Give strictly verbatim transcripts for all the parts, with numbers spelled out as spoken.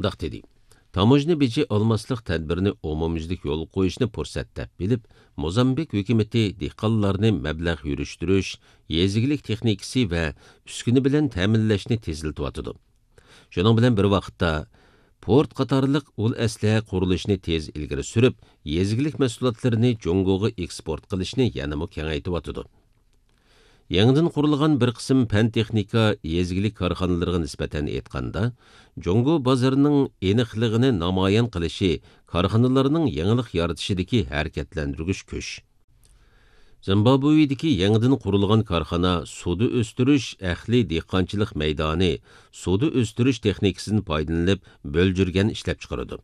مۇنداق دېدى: تاموژنا بېجى ئالماسلىق تەدبىرىنى ئومۇميۈزلۈك يولغا قويۇشنى پۇرسەت دەپ بىلىپ، موزامبىك ھۆكۈمىتى دېھقانلارنى مەبلەغ يۈرۈشتۈرۈش، يېزا ئىگىلىك تېخنىكىسى ۋە ئۈسكۈنە بىلەن تەمىنلەشنى تېزلىتىۋاتىدۇ. شۇنىڭ بىلەن بىر ۋاقىتتا، پورت قاتارلىق ئۇل ئەسلىھە قۇرۇلۇشىنى تېز ئىلگىرى سۈرۈپ، يېزا ئىگىلىك مەھسۇلاتلىرىنى جۇڭگوغا ئېكسپورت قىلىشنى يەنىمۇ كېڭەيتىۋاتىدۇ. يېڭىدىن قۇرۇلغان بىر قىسىم پەن-تېخنىكا، يېزا ئىگىلىك كارخانىلىرىغا نىسبەتەن ئېيتقاندا، جۇڭگو بازىرىنىڭ ئېنىقلىقىنى نامايان قىلىشى كارخانىلارنىڭ يېڭىلىق يارىتىشىدىكى ھەرىكەتلەندۈرگۈچ كۈچ. زىمبابۋېدىكى يېڭىدىن قۇرۇلغان كارخانا سۇدا ئۆستۈرۈش ئەھلى دېھقانچىلىق مەيدانى، سۇدا ئۆستۈرۈش تېخنىكىسىدىن پايدىلىنىپ، بۆلجۈرگەن ئىشلەپچىقىرىدۇ.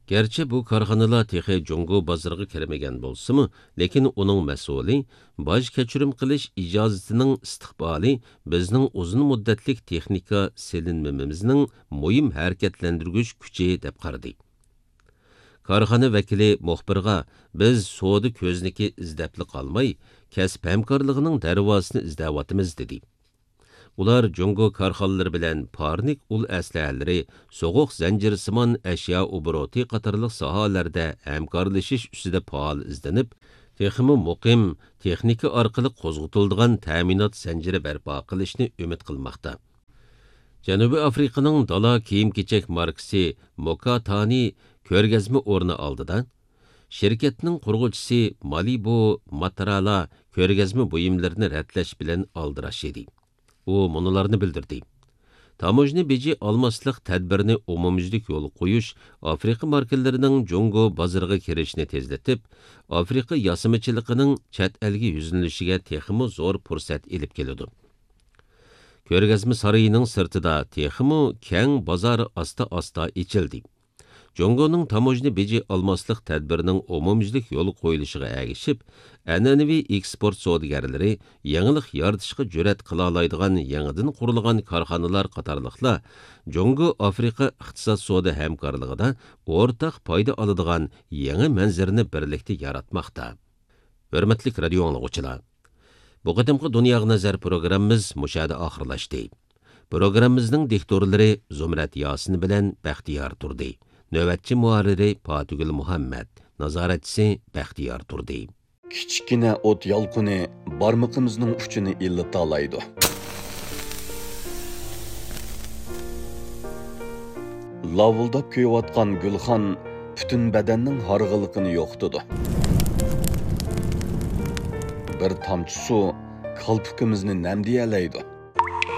گەرچە بۇ كارخانىلار تېخى جۇڭگو بازىرىغا كىرمىگەن بولسىمۇ، لېكىن ئۇنىڭ مەسئۇلى، باج كەچۈرۈم قىلىش ئىجازىتىنىڭ ئىستىقبالى بىزنىڭ ئۇزۇن مۇددەتلىك تېخنىكا سېلىنمىمىزنىڭ مۇھىم ھەرىكەتلەندۈرگۈچ كۈچى، دەپ قارىدى. كارخانا ۋەكىلى مۇخبىرغا: «بىز سودا كۆزنىكى ئىزدەپلا قالماي، كەسىپ ھەمكارلىقىنىڭ دەرۋازىسىنى ئىزدەۋاتىمىز» دېدى. ئۇلار جۇڭگو كارخانىلىرى بىلەن پارنىك ئۇل ئەسلىھەلىرى، سوغۇق زەنجىرسىمان ئەشيا ئوبوروتى قاتارلىق ساھەلەردە ھەمكارلىشىش ئۈستىدە پائال ئىزدىنىپ، تېخىمۇ مۇقىم، تېخنىكا ئارقىلىق قوزغىتىلىدىغان تەمىنات زەنجىرى بەرپا قىلىشنى ئۈمىد قىلماقتا. جەنۇبىي ئافرىقىنىڭ دالا كىيىم-كېچەك ماركىسى موكاتانى كۆرگەزمە ئورنى ئالدىدا شىركەتنىڭ قۇرغۇچىسى مالىبۇ ماترالا كۆرگەزمە بۇيۇملىرىنى رەتلەش بىلەن ئالدىراش ئىدى. ئۇ مۇنۇلارنى بىلدۈردى: تاموژنا بېجى ئالماسلىق تەدبىرىنى ئومۇميۈزلۈك يولغا قويۇش ئافرىقا ماركىلىرىنىڭ جۇڭگو بازىرىغا كىرىشىنى تېزلىتىپ، ئافرىقا ياسىمىچىلىقىنىڭ چەت ئەلگە يۈزلىنىشىگە تېخىمۇ زور پۇرسەت ئېلىپ كېلىدۇ. كۆرگەزمە سارىيىنىڭ سىرتىدا تېخىمۇ كەڭ بازار ئاستا-ئاستا ئېچىلدى. جۇڭگونىڭ تاموژنا بېجى ئالماسلىق تەدبىرىنىڭ ئومۇميۈزلۈك يولغا قويۇلۇشىغا ئەگىشىپ، ئەنئەنىۋى ئېكسپورت سودىگەرلىرى يېڭىلىق يارىتىشقا جۈرئەت قىلالايدىغان يېڭىدىن قۇرۇلغان كارخانىلار قاتارلىقلار جۇڭگو ئافرىقا ئىقتىساد سودا ھەمكارلىقىدا ئورتاق پايدا ئالىدىغان يېڭى مەنزىرىنى بىرلىكتە ياراتماقتا. ھۆرمەتلىك رادىيو ئاڭلىغۇچىلار! بۇ قېتىمقى دۇنياغا نەزەر پروگراممىمىز مۇشۇ يەردە ئاخىرلاشتى. پروگراممىمىزنىڭ دىكتورلىرى زۇمرەت ياسىن بىلەن بەختىيار تۇردى. نۆۋەتچى مۇھەررىرى پاتىگۈل مۇھەممەت، نازارەتچىسى بەختىيار تۇردى. كىچىككىنە ئوت يالقۇنى بارمىقىمىزنىڭ ئۇچىنى ئىللىتالايدۇ. لاۋۇلداپ كۆيۈۋاتقان گۈلخان پۈتۈن بەدەننىڭ ھارغىنلىقىنى يوقىتىدۇ. بىر تامچە سۇ كالپۇكىمىزنى نەمدىيەلەيدۇ.